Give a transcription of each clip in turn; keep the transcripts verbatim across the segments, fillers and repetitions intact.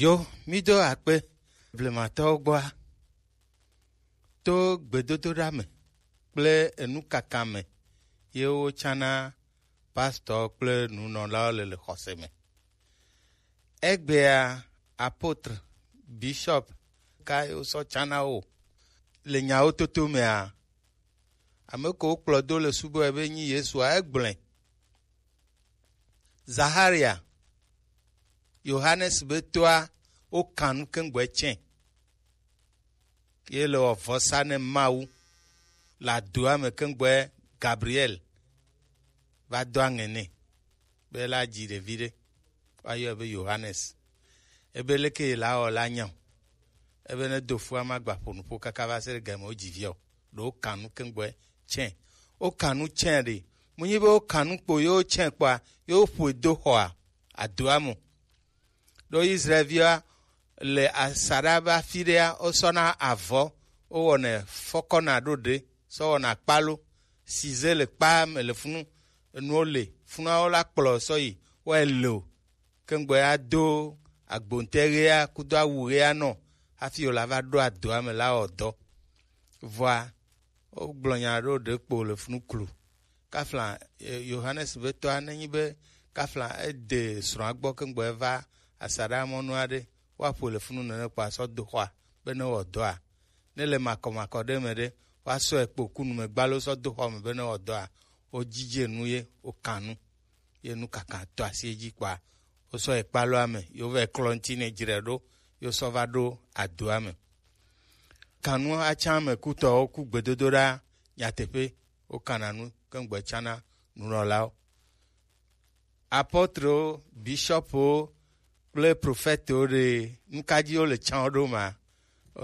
Yo, mí do akpe blematɔwo gbɔa, to gbedodoɖa me kple enukaka me ye wotsana pastor kple nunɔlawo le le xɔse me. Egbea, apôtre, bishop ka ye wosɔ tsana wo le nyawo toto mea? Ame ko wokplɔ do le subɔe be nyi Yesua, egblɔe. Zaharia, Yohanes be toa, wokan nu keŋgbɔe tsɛ. Ye le wɔ vɔsa ne Mawu le adoa me keŋgbɔe Gabriel va do aŋɛ nɛ be la dzi ɖevi ɖe, woayɔe be Yohanes. Ebe leke ye la wɔ la nya o. Ebe ne do fua ma gba ƒo nuƒo kaka va se ɖe game wo dzi via o. Ɖo wokan nu keŋgbɔe tsɛ. Wokan nu tsɛ ɖe. Mu nyi be wokan nu kpo ye wotsɛ kpɔa, ye woƒoe do xɔa adoa me. Ɖo Israelvia le asaɖa be afi ɖea, wosɔna avɔ, wowɔnɛ fɔkɔna ɖo ɖe, sɔ wɔna kpalo, size le kpa me le funu, enuwo le funua wo la kplɔ sɔ yi, wɔ ele o. Keŋgbɔ ya do agbonte ɣea kudo awu ɣea nɔ hafi wòla va ɖo adoa me la wɔ dɔ. Vɔa, wogblɔ nya ɖo ɖe kpo le funu klu. Kafla, eh, Yohanes be tɔa, nenyi be kafla ede srɔ̃a gbɔ keŋgbɔ eva asaɖa mɔnu aɖe, woaƒoe le funu nene kpo asɔ do xɔa be ne wɔ dɔa. Ne le makɔmakɔ ɖe me ɖe, woasɔe kpo ku nu me gbalo sɔ do xɔ me be ne wɔ dɔa. Wodzidze nu ye, wokan nu. Ye nu kaka to asi edzi kpɔa, wosɔ yi kpaloa me, ye wova yi klɔ ŋuti nɛ dzre ɖo, ye wosɔ va ɖo adoa me. Kanu atsa me kutɔwo ku gbedodoɖa nyateƒe, wokana nu keŋgbɔ tsana nunɔlawo. Apɔtrewo, bishɔpwo kple profɛtewo ɖe, nu ka dzi wole tsã wo ɖo ma?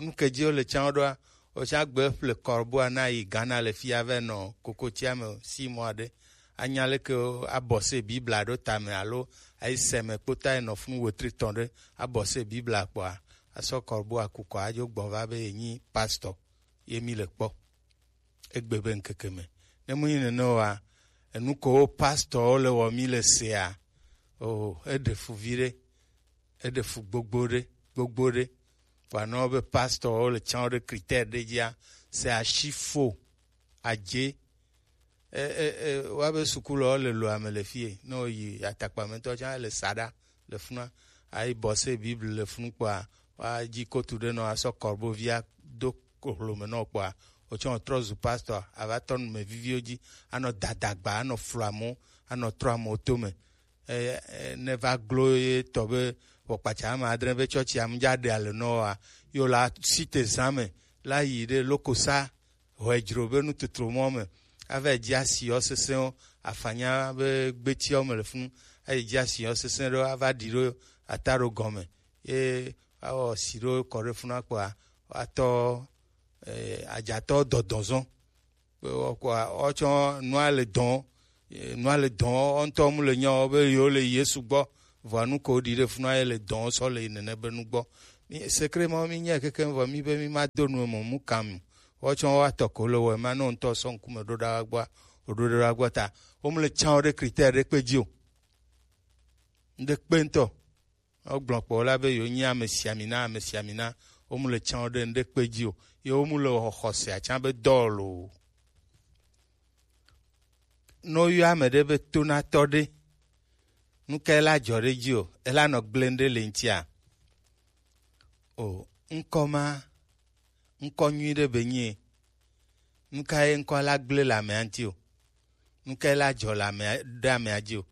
Nu ke dzi wole tsã wo ɖoa? Wotsã gbe ƒle kɔrboa na yi Ghana le fia vɛ nɔ kokotsia me si mɔ aɖe. Anya leke abɔse Biblia ɖo tame alo ayi seme kpota yi nɔ funu wetri tɔn ɖe abɔse Biblia kpɔa, asɔ kɔrboa kukɔ adzo gbɔ va be yenyi pastor ye mi le kpɔ. Egbe be ŋkeke me. Ne mu nyi nene oa, enu ko wo pastorwo le wɔ mi le sea, o, eɖe fu viɖe, eɖe fu gbogbo ɖe, gbogbo ɖe. Vɔa ne wobe pastorwo le tsã wo ɖe critère ɖe dzia, c'est à chiffre faux, adze. E, e, e, woabe sukulɔ le lo ame le fie, ne woyi atakpa me ŋutɔ tsã le saɖa le funua, ayi bɔse Bible le funu kpɔa, woadzi kotu ɖe nɔ asɔ kɔrbovi ado hlome nɔ kpɔa, wotsɔ trɔ zu pastor, ava tɔ nu me viviwo dzi, anɔ dadagba, anɔ flu amewo, anɔ trɔ amewo to me. E, e, ne va glo ye tɔ be ʋɔkpatsa ame adre be tsɔtsi amudza ɖe ale nɔ wa, yo la site zã me la yi ɖe lokosa hɔedzro be nutotro mɔ me, ava dzi asi yɔ sesẽwo, afanya be gbetiawo me le funu, ayi dzi asi yɔ sesẽ ɖo ava ɖi ɖo ata ɖo gɔme, ye awɔ si ɖo kɔ ɖe funua kpɔa, atɔ, eh, adzatɔ dɔdɔzɔ. Kpɔa, wotsɔ nua le dɔn, eh, nua le dɔn, wo ŋutɔ mu le nyɔ be yewo le Yesu gbɔ, vɔa nu ko ɖi ɖe funua ye le dɔn sɔ le yi nene be nu gbɔ. Mi, secret ma mi nya keke vɔ mi be mi ma do nu mo mu kam. Wotsɔ wa tɔ ko le wɔ ma no ŋutɔ sɔ ŋkume ɖo ɖa gbɔ, o ɖo ɖa gbɔ ta. Wo mu le tsã wo ɖe critère ɖe kpe dzi o. Ŋɖe kpe ŋutɔ. Wogblɔ kpɔ la be yewo nyi ame sia mi na, ame sia mi na. Wo mu le tsã wo ɖe ŋɖe kpe dzi o. Ye wo mu le xɔ-, xɔsea tsã be dɔl o. Ne woyɔ ame ɖe be tonatɔ ɖe, nu ka ela dzɔ ɖe dzi o? Ela nɔ gblẽ ɖe le ŋutia? O, ŋkɔ ma, ŋkɔ nyui ɖe be nyie. Nu ka ye ŋkɔ la gblẽ le amea ŋuti o? Nu ka la dzɔ le amea, ɖe amea dzi o?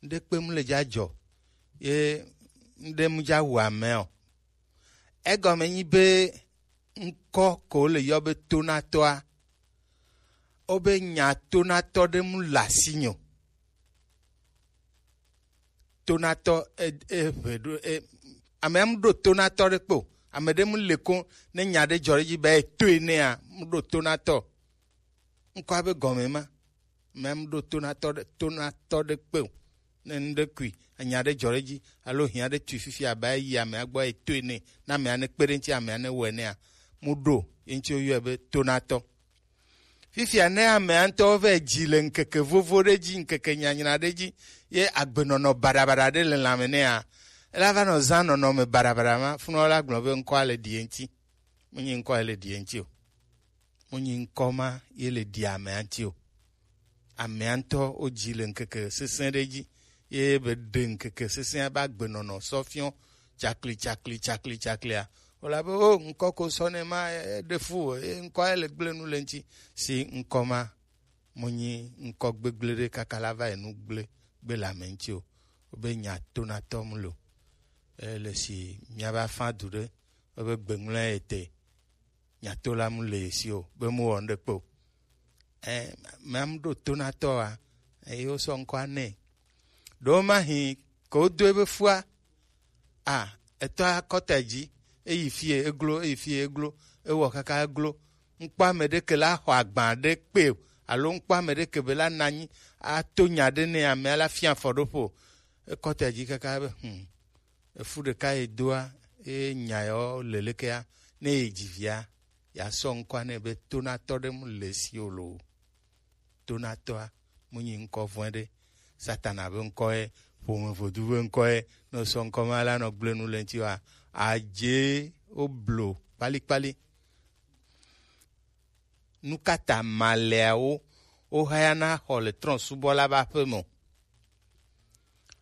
Ŋɖe kpe mu le dza dzɔ, ye ŋɖe mu dza wu amea o. Egɔme nyi be ŋkɔ ko le yɔ be tonatɔa, wobe nya tonatɔ ɖe mu le asinye o. Tonatɔ e, e, ʋe ɖo, e, amea mu ɖo tonatɔ ɖe kpe o. Ame ɖe mu le ko ne nya ɖe dzɔ ɖe dzi be etoe nɛa, mu ɖo tonatɔ. Ŋkɔa be gɔme ma. Ame mu ɖo tonatɔ ɖe, tonatɔ ɖe kpe o. Ne ŋɖe kui, enya ɖe dzɔ ɖe dzi, alo hiã ɖe tui fifi abe ayi amea gbɔ etoe nɛ, na amea ne kpe ɖe ŋuti, amea ne wɔe nɛa, mu ɖo ye ŋuti woyɔe be tonatɔ. Fifia ne amea ŋutɔ vɛ dzi le ŋkeke vovo ɖe dzi, ŋkeke nyanyra ɖe dzi, ye agbenɔnɔ baɖabaɖa ɖe le lãme nɛa, Ela va nɔ zã nɔnɔme baɖabaɖa ma, funɔ la gblɔ be ŋkɔ ale ɖi ye ŋti. Menyi ŋkɔ ye le ɖi ye ŋti o. Menyi ŋkɔ ma ye le ɖi amea ŋti o. Amea ŋutɔ wodzi le ŋkeke sesẽ ɖe dzi, ye be ɖe ŋkeke sesẽa be agbenɔnɔ sɔ fiɔ tsakli, tsakli, tsakli, tsaklia. Wole abe, o, ŋkɔ ko sɔ nɛ ma, e, ɖe fu o, e, ŋkɔ ye le gblẽ nu le ŋti. Si ŋkɔ ma, menyi ŋkɔ gbegblẽ ɖe kaka la va yi nu gblẽ gbe le ame ŋti o. Wobe nya tonatɔ mu lo. E, le si miaba fã du ɖe, wobe gbeŋlɔ ye te. Nyato la mu le ye si o, be mu wɔ nu ɖe kpe o. Ɛ, mea mu ɖo tonatɔ wa, eye wosɔ ŋkɔa nɛ. Ɖewo ma hi ke wodo ebe fua, a, etɔ akɔta dzi, eyi fie eglo, eyi fie eglo, ewɔ kaka eglo. Ŋkpɔ ame ɖe ke la xɔ agba ɖe kpe o, alo ŋkpɔ ame ɖe ke be la nanyi ato nya ɖe nɛ, amea la fia afɔɖoƒo. Ekɔta dzi kaka be, hmm, efu ɖeka ye doa, ye nya yawo le lekea, ne ye dzi via, ya sɔ ŋkɔa nɛ be tonatɔ ɖe mu le si o lo. Tonatɔa mu nyi ŋkɔ vɔ̃e ɖe. Satana be ŋkɔ ye, ƒome vodu be ŋkɔ ye, ne sɔ ŋkɔ ma la nɔ gblẽ nu le ŋti wa, adze wo blo kpalikpali. Nu ka ta malɛawo wohayana xɔ le trɔ̃subɔla ƒe aƒe me o?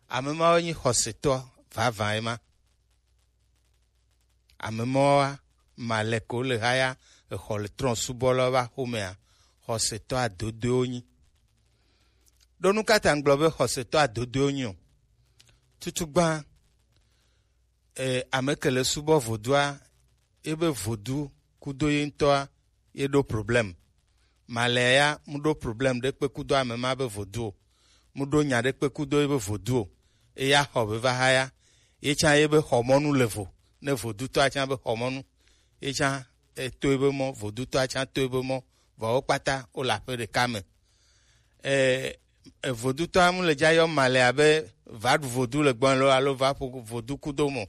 Ame mawo nyi xɔsetɔ vavã ema. Ame mawoa, malɛ ko le haya exɔ le trɔ̃subɔlawo ƒe axomea, xɔsetɔ adodoewo nyi. Ɖo nu ka ta ŋgblɔ be xɔsetɔ adodoewo nyi o? Tutugbã, e, ame ke le subɔ vodua, ebe vodu kudo ye ŋutɔa, ye ɖo problem. Malɛ ya mu ɖo problem ɖe kpe kudo ame ma be vodu o. Mu ɖo nya ɖe kpe kudo ye be vodu o. Eya xɔ be va haya. Ye tsã ye be xɔmɔnu le vo. Ne vodutɔa tsã be xɔmɔnu. Ye tsã eto ye be mɔ, vodutɔa tsã to ye be mɔ. Vɔ wo kpata wo le aƒe ɖeka me. E, e, vodutɔa mu le dza yɔ malɛ abe va ɖu vodu le gbɔn lo alo va ƒo vodu kudo mo.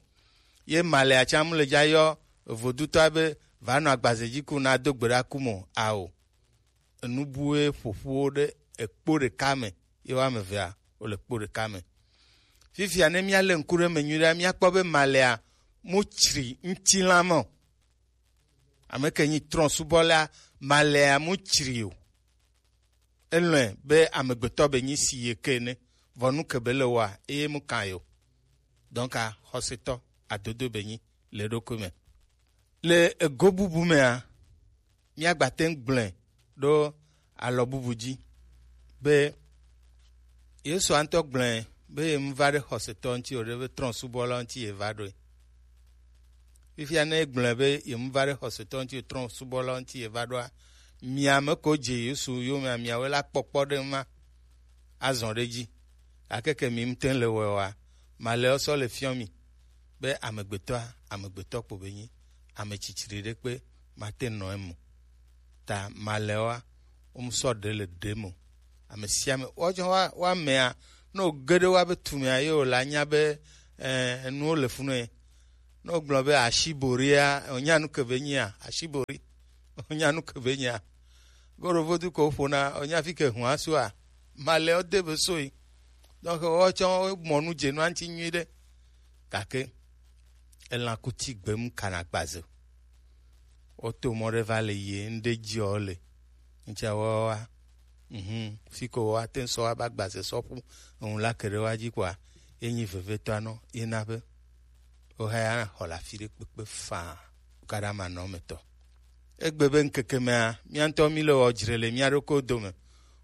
Ye malɛa tsã mu le dza yɔ vodutɔa be va nɔ agbaze dzi ku na do gbe ɖa ku mo. Ao. Enu bue ƒoƒuwo ɖe ekpo ɖeka me, ye wo ame evea wo le kpo ɖeka me. Fifia ne mía le ŋku ɖe me nyuie ɖe, mía kpɔ be malɛa mu tsri ŋutilã me o. Ame ke nyi trɔ̃subɔla, malɛa mu tsri o. Elɔ̃e be amegbetɔ be nyi si ye ke ne, vɔ nu ke be le wɔa, eye mu kan yo. Donc, a, xɔsetɔ, adodo be nyi le eɖokui me. Le ego bubu mea, míagba te ŋu gblɔe ɖo alɔ bubu dzi be Yesu ŋutɔ gblɔe be ye mu va ɖe xɔsetɔ ŋuti o, ɖe be trɔ̃subɔla ŋuti ye va ɖoe. Fifia ne egblɔe be ye mu va ɖe xɔsetɔ ŋuti o, trɔ̃subɔla ŋuti ye va ɖoa, mia me ko dze Yesu yomea, miawoe la kpɔkpɔ ɖe ma azɔ ɖe dzi. Gake ke mi ŋutɔ le wɔe oa, malɛ sɔ le fiɔ mi be amegbetɔa, amegbetɔ kpo be nyi, ame tsitsri ɖe kpe mate nɔ eme o. Ta malɛwoa, wo mu sɔ ɖe le ɖe me o. Ame sia ame, woatsɔ wa, wa mea, ne wo ge ɖe wa be tu mea, ye wo la nya be, eh, enuwo le funu ye. Ne wo gblɔ be ashiboria, wonya nu ke be nyia, ashibori, wonya nu ke be nyia. Gorovodu ko ƒona, wonya fi ke hua soa, malɛwo de be soe. Donc, woatsɔ wo mɔ nu dze nua ŋuti nyui ɖe. Gake, elã kuti gbem kana gbaze. Woto mɔ ɖe va le yi ŋɖe dzi ɔ le. Ŋtsia wɔwa. Mhm. Fi ko wa te ŋ sɔ wa ba gbaze sɔ ƒu. Eŋu la ke ɖe wa dzi kɔa, ye nyi vevetɔ anɔ, ye na be. Wo hã ya xɔ le afi ɖe kpekpe faa. Wo ka ɖe ama nɔ me tɔ. Egbe be ŋkeke mea, mía ŋutɔ mí le wɔ dzre le mía ɖokuiwo dome.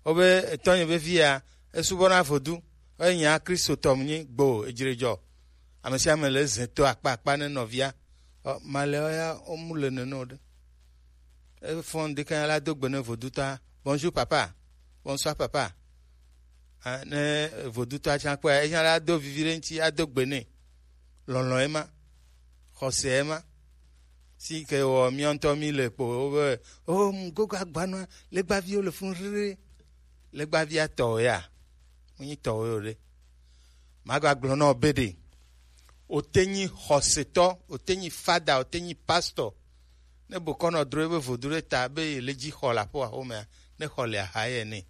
Wobe etɔnye vevi ya, esubɔna vodu, eye nya Kristotɔ mu nyi gbo, edzre dzɔ. Ame sia ame le zẽ to akpa akpa ne nɔvia. Ɔ, malɛwo ya, wo mu le nene o ɖe. Efɔn ɖeka ya la do gbe ne vodutɔa, bonjour papa, bonsoir papa. Ah, ne vodutɔa tsã kpɔe, etsã la do vivi ɖe ŋuti, ado gbe nɛ. Lɔlɔ̃ ema, xɔse ema. Si ke wɔ mía ŋutɔ mí le kpo, wobe, o, gogo agbanɔa, legbaviwo le funu rere. Legbavia tɔwò ya, menyi tɔwò o ɖe. Magagblɔ na wò be ɖe, wòte nyi xɔsetɔ, wòte nyi fada, wòte nyi pastor. Ne bokɔnɔ dro ebe vodu ɖe ta be yele dzi xɔ le aƒe axomea, ne xɔ le axa ye nɛ.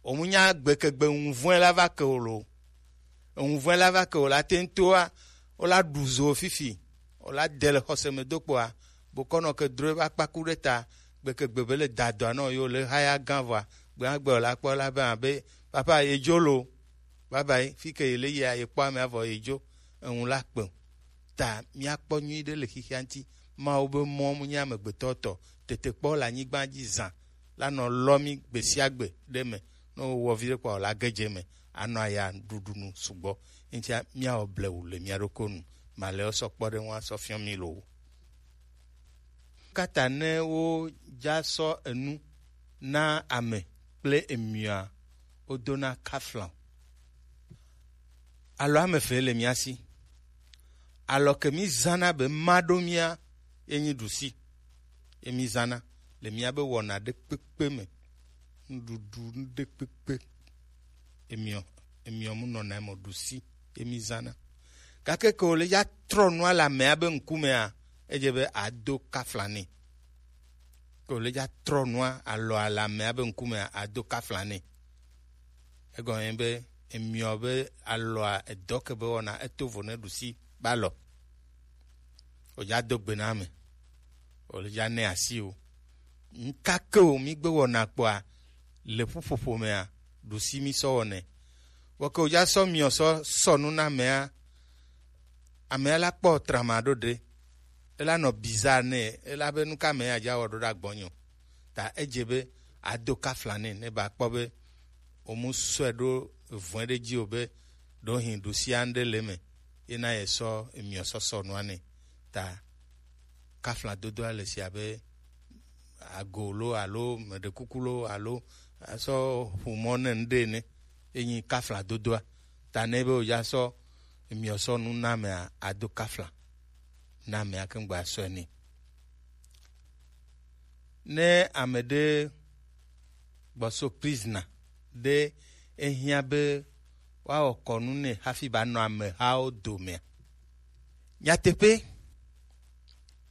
Omunya gbekegbe ŋuvɔe la va ke wò lo. Ŋuvɔe la va ke wò la te ŋu toa, Wo la ɖu zo fifi, wo la de le xɔse me do kpoa, bokɔnɔ ke dro eƒe akpaku ɖe ta, gbekegbe be le dadɔa nɔ yo le haya gã vɔa, gbegbe wo la kpɔ la be abe papa ye dzo lo, baba yi fi ke ye le yia ye kpɔ ame avɔ ye dzo, eŋu la kpe o. Ta míakpɔ nyuiɖe le xixia ŋuti. Mawu be mɔ mu nye amegbetɔ tɔ, tetekpɔ le anyigba dzi zã la nɔ lɔ mí gbe sia gbe ɖe me. Ne wowɔ viɖe kpɔa, wòla ge dze eme, anɔ aya ɖuɖu nu sugbɔ. Eŋutia míawɔ blewu le mía ɖokui nu. Malɛ wosɔ kpɔ ɖe ŋu asɔ fiɔ mí loo. Kata ne wodza sɔ enu na ame kple emiɔa, wodona kafla. Alɔ ame eve le mía si. Alɔ ke mí zãna be ma ɖo mía ye nyi ɖusi. Ye mí zãna le mía be wɔna ɖe kpekpe me. Nuɖuɖu ɖe kpekpe. Emiɔ, emiɔ mu nɔna eme ɖusi ye mí zãna. Gake ke wòle ya trɔ nua le amea be ŋkumea, edze be ado kafla nɛ. Ke wòle ya trɔ nua alɔa le amea be ŋkumea, ado kafla nɛ. Egɔme be emiɔ be alɔa edɔ ke be wɔna eto vo ne ɖusi ba lɔ. Wòdza do gbe na ame. Wòle ya ne asi o. Ŋka ke o mí gbe wɔna kpɔa, le ƒuƒoƒo mea, ɖusi mí sɔ wɔnɛ. Vɔ ke wòdza sɔ miɔ sɔ sɔ nu na amea, amea la kpɔ trama ɖo ɖe. Ela nɔ bizarre nɛ, ela be nu ka amea dza wɔ ɖo ɖe agbɔnye o. Ta edze be ado kafla nɛ, ne ba kpɔ be womu sɔe ɖo vɔe ɖe dzi o be ɖo hin ɖusia ŋɖe le eme, ye na ye sɔ emiɔ sɔ sɔ nua nɛ. Ta kafla dodoa le si abe ago lo alo meɖe kuku lo alo asɔ ƒomɔ ne ŋɖe ne, enyi kafla dodoa. Ta ne be wòdza sɔ emiɔ sɔ nu na amea, ado kafla na amea keŋ gba sɔe nɛ. Ne ame ɖe gbɔso prizna ɖe, ehiã be woawɔ kɔnu nɛ hafi ba nɔ amehawo domea. Nyateƒe,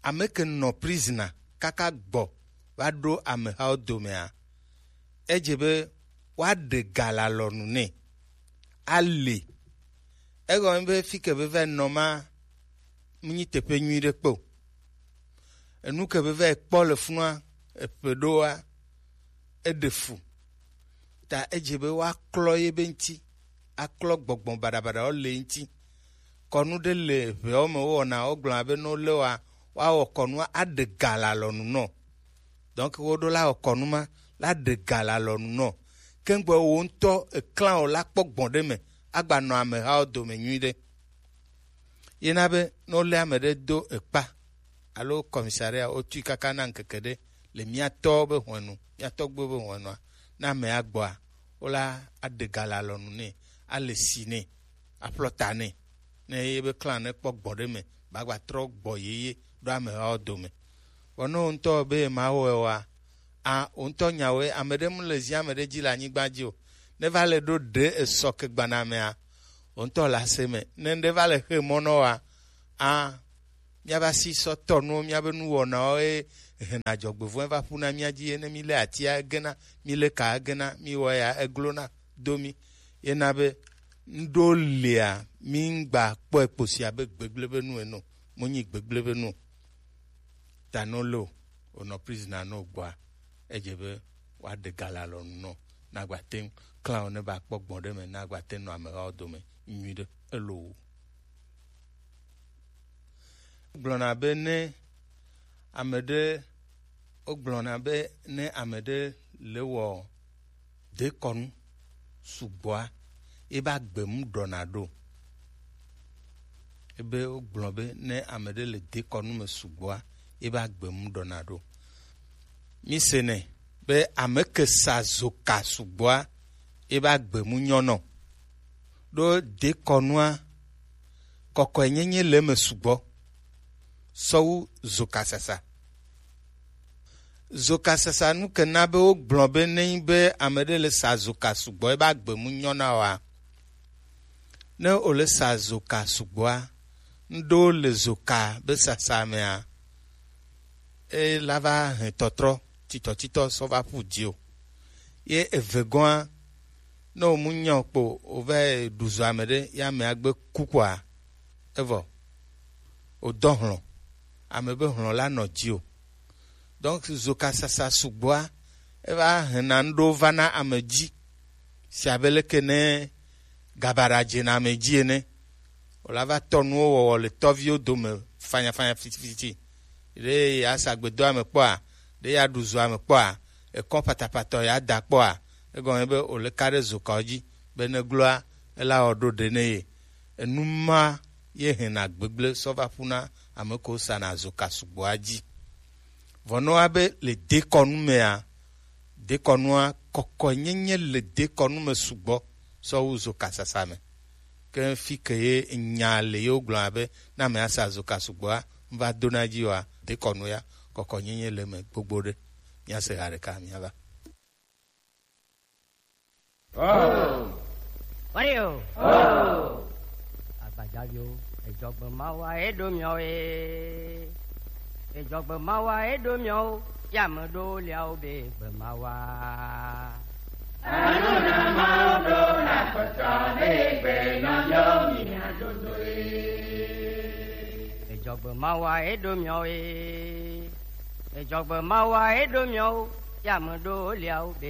ame ke nɔ prizna kaka gbɔ va ɖo amehawo domea, edze be woaɖe ga le alɔnu nɛ. Ale. Egɔme be fi ke be va nɔ ma, menyi teƒe nyui ɖe kpe o. Enu ke be va kpɔ le funua, eƒe ɖoa, eɖe fu. Ta edze be woaklɔ ye be ŋuti, aklɔ gbɔgbɔ baɖabaɖawo le ŋuti. Kɔnu ɖe le ʋeawo me wowɔna, wogblɔna be ne wolé woa, woawɔ kɔnua aɖe ga le alɔnu nɔ. Donc woɖo la wɔ kɔnu ma la ɖe ga le alɔnu nɔ. Kengbe wo ŋutɔ eklã o la kpɔ gbɔn ɖe me agba nɔ amehawo dome nyuiɖe. Ye na be ne wolé ame ɖe do ekpa alo commissariat, wotui kaka na ŋkeke ɖe le mía tɔwo be hwenu, mía tɔgbuiwo be hwenua, ne amea gbɔa, wola aɖe ga le alɔnu nɛ, ale si nɛ, aƒlɔ ta nɛ, ne ye be klã ne kpɔ gbɔ ɖe me, ba gba trɔ gbɔ yeye ɖo amehawo dome. Vɔ ne wò ŋutɔ be ma wɔe oa, a, wò ŋutɔ nyawoe, ame ɖe mu le zi ame ɖe dzi le anyigba dzi o. Ne va le ɖo ɖe esɔ ke gbanamea, wò ŋutɔ le ase me. Ne ŋɖe va le xe mɔ nɔ wa, a, míava si sɔ tɔ nuwo, míabe nuwɔnawo ye hena dzɔgbevɔ̃e va ƒuna mía dzi ye ne mílé atia egena, mílé ka egena, míwɔ ya eglona do mí. Ye na be ŋɖo lia, míŋgba kpɔe kposi abe gbegblẽ be nu ene o, monyi gbegblẽ be nu o. Ta ne wolé o, wònɔ prison ne wògbɔa, edze be woaɖe ga le alɔnu nɔ, ne agba te ŋu klã o, ne ba kpɔ gbɔn ɖe me, ne agba te ŋu nɔ amehawo dome nyuiɖe. Elo. Gblɔna be ne ame ɖe, wogblɔna be ne ame ɖe le wɔ dekɔnu sugbɔa, ebe agbe mu ɖɔna ɖo. Ebe wogblɔ be ne ame ɖe le dekɔnu me sugbɔa, ebe agbe mu ɖɔna ɖo. Mi se nɛ be ame ke sa zoka sugbɔa, ebe agbe mu nyɔnɔ. Ɖo dekɔnua, kɔkɔenyenye le eme sugbɔ sɔwu zokasasa. Zokasasa nu ke na be wogblɔ be ne nyi be ame ɖe le sa zoka sugbɔ, ebe agbe mu nyɔna oa? Ne wòle sa zoka sugbɔa, ŋɖewo le zoka be sasa mea, e la va hɛn tɔtrɔ titɔtitɔ sɔ va ƒu dzi o. Ye eve gɔ̃a, ne wòmu nyɔ kpo wòva yi ɖu zo ame ɖe, ye amea gbe ku kpoa, evɔ. O dɔ hlɔn. Ame be hlɔn la nɔ dzi o. Donc, zokasasa sugbɔa, eva hena nuɖewo va na ame dzi. Si abe leke ne gabaɖa dzena ame dzi ene. Wòla va tɔ nuwo wɔwɔ le tɔviwo dome fanyafanya fitifiti. Ɖe yeasa gbedoa me kpɔa, ɖe yeaɖu zoa me kpɔa, ekɔ patapatɔ yeada kpɔa, egɔme be wòle ka ɖe zokawo dzi, be ne gloa, ela wɔ ɖo ɖe ne ye. Enu ma ye hena gbegblẽ sɔ va ƒuna ame kewo sana zoka sugbɔa dzi. Vɔ ne woa be le dekɔnu mea, dekɔnua, kɔkɔenyenye le dekɔnu me sugbɔ sɔ wu zokasasa me. Ke fi ke ye nya le yewo gblɔa be, ne ame asa zoka sugbɔa, nu va dona dzi oa, dekɔnu ya, kɔkɔenyenye le eme gbogbo ɖe. Míase ha ɖeka, míava. Wɔɖi o. Agbajaviwo, edzɔgbe Mawu aye ɖo miawo ye. Edzɔgbe Mawu aye ɖo miawo, ya me ɖo liawo be gbe Mawu a. Anu na Mawu ɖo na kpɔtɔ be gbe nɔ miawo mi na dodo ye. Edzɔgbe Mawu aye ɖo miawo ye. Edzɔgbe Mawu aye ɖo miawo, ya me ɖo liawo be